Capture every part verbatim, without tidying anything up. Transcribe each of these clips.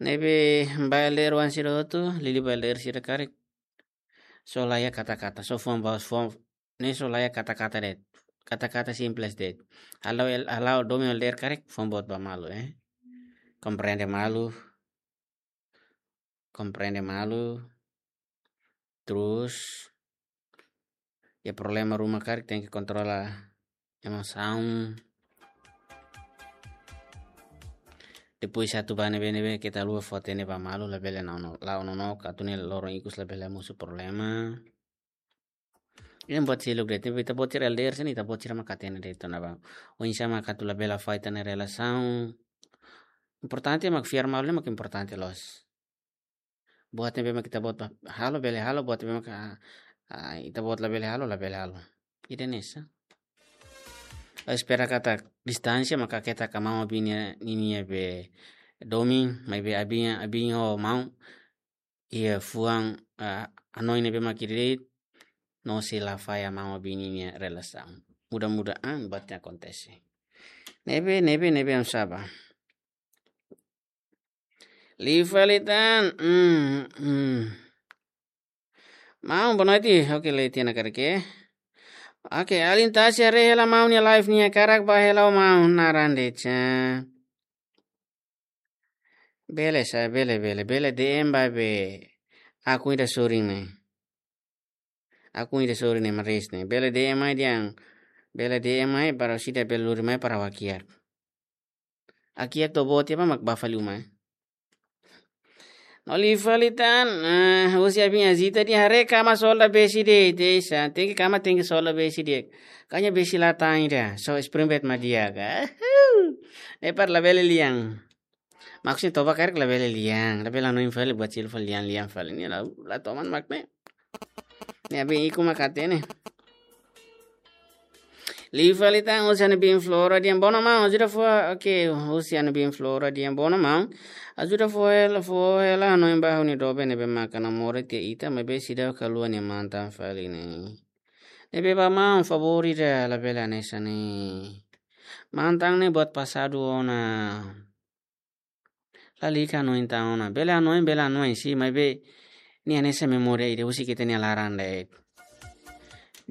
Ne'ebé ba L D R oan sira hotu, liuliu ba L D R sira karik. Só laiha kata-kata, só fuan ba fuan, ne'e só laiha kata-kata de'it. Kata-kata simples de'it. Halo el-, halo domin L D R karik, fuan boot ba malu, eh. Komprende malu. Komprende malu. Terus, iha problema ruma karik tenke kontrola emosaun. Depois atu ba ne'ebé-ne'ebé ita haluha fó hatene ba malu, labele la'o no-, la'o nonook, atu ne'e loron ikus labele mosu problema. Ida-ne'e buat seluk de'it, ita-boot sira L D R sira-ne'e, ita-boot sira mak hatene de'it ona ba. Oinsá mak atu labele afeta ita-nia relasaun. Importante mak fiar malu ne'e mak importante loos. Buat ne'ebé mak ita-boot ba halo bele halo, buat ne'ebé mak, ah, ah, ita-boot labele halo, labele halo. Ida-ne'e sá. Ha'u espera katak distánsia maka keta ka maun abin ninia, ninia be domin, maibé abin, abin ho maun iha fuan, ah, hanoin ne'ebé mak ida de'it, no sei la fahe maun abin ninia relasaun. Mudah-mudahan buat ne'e akontese. Ne'ebé, ne'ebé, ne'ebé oinsá ba. Liu fali tan, mm, mm. Maun, boa noite. Oke, leti na karke. Oke, alin tasi haree hela maun nia live nia karak ba hela maun naran de'it sá. Bele sá, bele, bele, bele D M ba be akun ida sorin ne'e. Akun ida sorin ne'e Maris ne'e. Bele D M mai dehan. Bele D M mai para sida bele lori mai para ha'u hakiak. Hakiak to'o boot tiha ba mak bá fali uma, eh. No liu fali tan, ah, husi abin Azita dehan haree kama solda besi de'it, ita sá. Tenke kama, tenke solda besi de'it. Kanya besi la tan ida, só spring bed mak di'ak. Ne'e para labele lian. Maksudnya toba karik labele lian, labele hanoin fali buat seluk fali lian, lian fali. Ne'e la, la toman mak ne'e. Ne'e abin ikus mak hatene. Liu fali tan husi ha'u-nia biin Flora dehan bono maun, ajuda fó, oke, husi ha'u-nia biin Flora dehan bono maun. Ajuda fó hela, fó hela hanoin ba ha'u-nia doben ne'ebé maka namora tiha ita, maibé seidauk haluha nia mantan fali ne'e. Ne'ebé ba maun, favór ida, labele hanesan ne'e. Mantan ne'e buat pasadu ona. Lalika hanoin tan ona. Bele hanoin, bele hanoin, sin, maibé nia hanesan memória ida husik ita-nia laran de'it.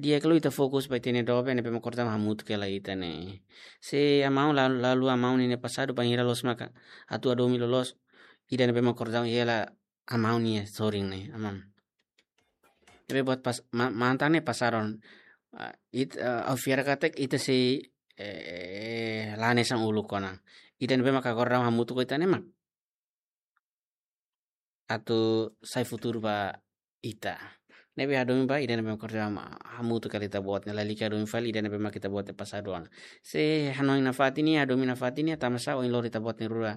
Di'ak liu ita fokus ba ita-nia doben ne'ebé mak kordau hamutuk hela ita ne'e. Se ha'u-nia maun la, la haluha ha'u-nia pasadu, bainhira loos maka atu hadomi loloos ida ne'ebé mak kordau hela ha'u-nia sorin ne'e, aman. Ne'ebé buat pas, ma-, mantan ne'e pasadu ona. Ah, it-, ah, ha'u fiar katak ita sei, eh, la hanesan uluk ona. Ida ne'ebé maka kordau hamutuk ho ita ne'e mak atu sai futuru ba ita. Ne'ebé hadomi ba ida ne'ebé mak kordau ham-, hamutuk hela ita-boot ne'e, lalika hadomi fali ida ne'ebé mak ita-boot ne'e pasadu ona. Se hanoin nafatin nia, hadomi nafatin nia, tanba sá ohin lori ita-boot nia rua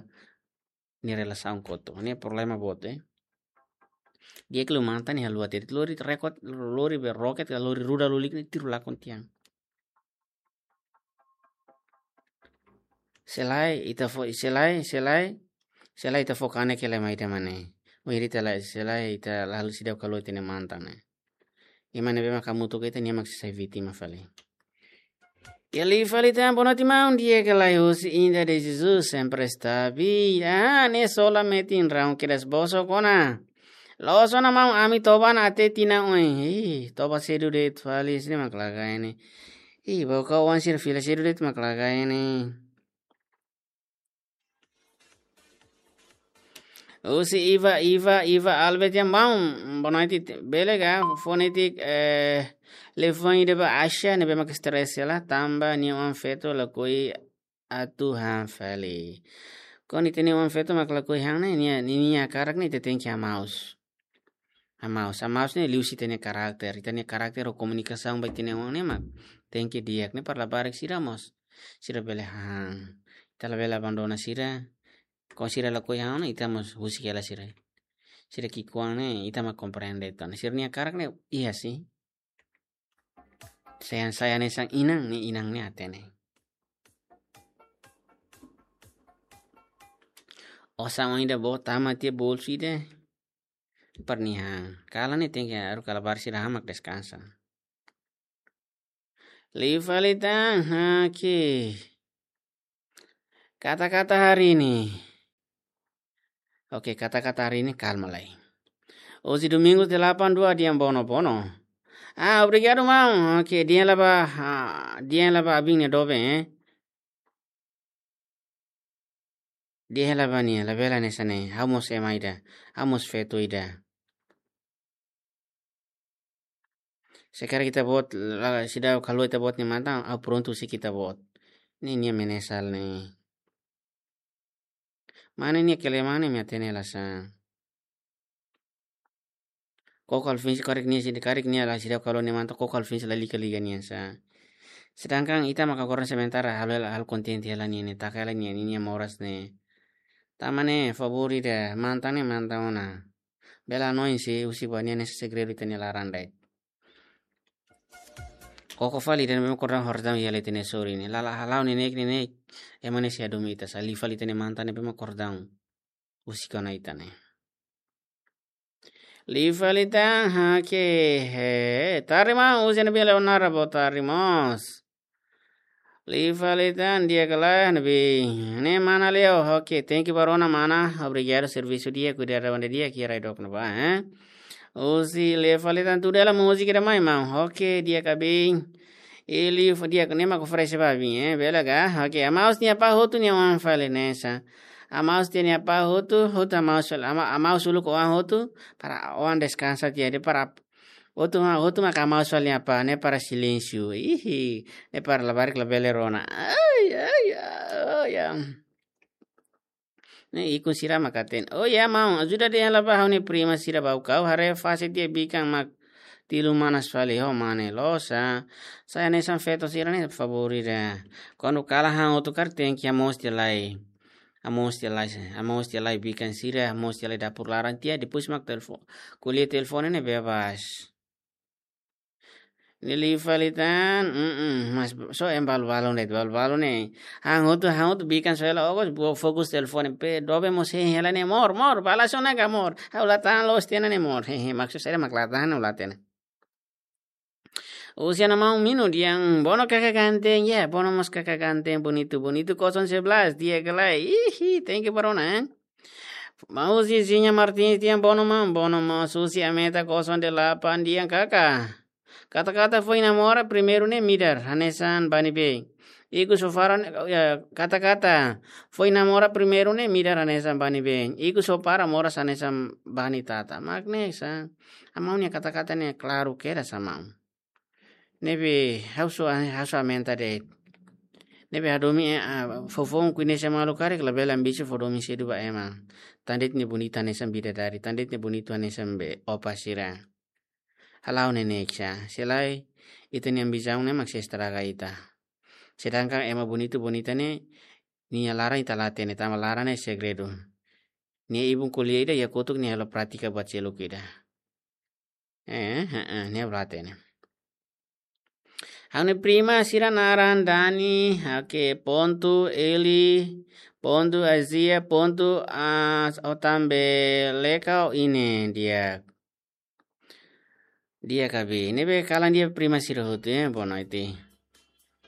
nia relasaun kotuk. Ne'e problema boot, eh. Di'ak liu mantan ne'e haluha tiha de'it, lori rekod, lori be roket, lori ruda lulik ne'e tiru lakon tiha. Se lae, ita fó, se lae, se lae, se lae ita fó kanek hela mai ita mane. Wiri ita lae, se lae ita la haluha, seidauk haluha ita-nia mantan ne'e. Ema ne'ebé mak hamutuk ho ita, nia mak sei sai vítima fali. Liu fali tan, boa noite maun, di'ak ka lae? Husi Inda de Jesus, sempre está bi. Ah, ne'e sola metin raun kedas bosok ona. Loos ona maun, ami toba ona até tinan oin. Ih, toba sedu de'it fali, sini mak lagai ne'e. Ih, bau kau wan sir fila sedu de'it mak lagai ne'e. Husi Iva, Iva, Iva Albert dehan maun, boa noite, bele ka, fó netik, eh, liafuan ida ba Asha, ne'ebé mak stress hela, tanba nia oan feto lakohi atu han fali. Kuandu ita-nia oan feto mak lakohi han ne'e, nia, nia, nia hakarak ne'e ita tenke hamaus. Hamaus, hamaus ne'e liuhusi ita-nia karakter. Ita-nia karakter ho komunikasaun ba ita-nia oan ne'e mak tenke di'ak, ne'e para labarik sira mós, sira bele han. Ita labele abandona sira. Kuandu sira lakohi han ona, ita mós husik hela sira. Sira ki'ikoan ne'e, ita mak komprende tan. Sira-nia hakarak ne'e iha sin. Sayang, sayang ne'e sang inan, ne'e inan ne'e hatene. Osan oan ida boot tama tiha bolsu ida. Para nia han. Kalan ne'e tenke haruka labarik sira han mak deskansa. Liu fali tan, oke. Kata-kata hari ini. Oke, kata-kata hari ini kalma lai. Hoje domingo delapan dua, dehan bono, bono. Ah, obrigadu, maun. Oke, dehan lai ba, ah, dehan lai ba abin nia doben, eh. Dehan lai ba nia, labele hanesan ne'e. Ha'u mós ema ida, ha'u mós feto ida. Se karik ita-boot, la, seidauk haluha ita-boot nia mantan, ha'u prontu husik ita-boot. Ne'e nia menyesal ne'e. Mane nia kelemahan ne'e imi hatene la sá. Koko Alvin se karik nia, se karik nia la seidauk haluha nia mantan, koko Alvin se lalika liga nia sá. Sedangkan ita maka agora sementara halo, halo kontente hela nia, nia taka hela nia, nia moras ne'e. Tanba ne'e, favór ida, mantan ne'e mantan ona. Bele hanoin se husik ba nia hanesan segredu ita-nia laran de'it. Koko fali ida ne'ebé mak kordang horisdaun iha ita-nia sorin ne'e. La'ós halo neineik, neineik. Ema ne'e sei hadomi ita sá, liu fali ita-nia mantan ne'ebé mak kordang husik ona ita ne'e. Liu fali tan, oke, he, tarde maun, husi ne'ebé Leonara, boa tarde mós. Liu fali tan, di'ak ka lae, ne'ebé. Ne'e mana Leo, oke, thank you ba rona mana, obrigadu servisu di'ak, kuidadu ba ida di'ak, iha rai dook ne'ebá, eh. Husi liu fali tan, tudo ela múzika ida mai maun, oke, di'ak ka abin. Liu fali di'ak, ne'e mak oferese ba abin, eh, bele ka, oke, amaus nia apá hotu nia oan fali hanesan. Amaus nia apá hotu, hotu amaus, ama-, amaus uluk oan hotu, para oan deskansa tiha de'it para hotu ma-, hotu maka amaus fali nia apá, ne'e para silénsiu. Ihi, ne'e para labarik labele rona. Ai, ai, ai, ai. Ne'e ikun sira mak hatene. Oh ya, maun, ajuda dehan lai ba ha'u-nia prima sira ba ha'u, ha'u haree fase tiha bikan mak tilu manas fali ho mane loos sá. Sai hanesan feto sira ne'e favór ida. Kuandu kalan han hotu karik tenke hamoos tiha lai. Hamoos tiha lai, hamoos tiha lai bikan sira, hamoos tiha lai dapur laran tiha, depois mak telefone. Ko'alia telefone ne'e bebas. Ne'e liu fali tan, mm, mm, mas só ema balu-balu ne'e, balu-balu ne'e. Han hotu, han hotu bikan só hela, okos, bo-, fokus telefone, be doben mós hein hela ne'e, amor, amor, bá la sona ka amor. Ha'u la tahan loos tiha ona ne'e amor. Hehe, maksud saida mak la tahan, ha'u la hatene. Husi Ana Maun Minu dehan, bono kakak ganteng, ya, bono mós kakak ganteng, bonitu, bonitu, kosong sebelas, di'ak ka lae. Ihi, thank you ba rona, eh. Maun Zizinha Martins dehan, bono maun, bono maun, husi Ameta kosong delapan dehan, kaka. Kata-kata foin namora primeiru ne'e midar, hanesan bá ne'ebé. Ikus ho fara ne'e, ya, kata-kata foin namora primeiru ne'e midar hanesan bá ne'ebé. Ikus ho fara moras hanesan bá nia tata. Mak ne'e sá. Amaun nia kata-kata ne'e klaru kedas, Ana Maun. Ne'ebé ha'u só, ha'u só aumenta de'it. Ne'ebé hadomi, eh, ah, foufoun kuinese malu karik labele ambisi fó domin sedu ba ema. Tan de'it ne'e bonita hanesan bidadari, tan de'it ne'e bonitu hanesan be opa sira. Halo neineik sá, se lae ita-nia ambisaun ne'e mak sei estraga ita. Sedangkan ema bonitu bonita ne'e, nia laran ita la hatene, tanba laran ne'e segredu. Nia ibun ko'alia ida, iha kotuk nia halo prátika buat seluk ida. Eh, eh, eh, nia la hatene. Ha'u-nia prima sira naran Dani, oke, pontu, Eli, pontu, Azia, pontu, ah, Otambe, Leka, Ine, di'ak. Di'ak ka abin. Ne'ebé kalan di'ak prima sira hotu, eh, boa noite.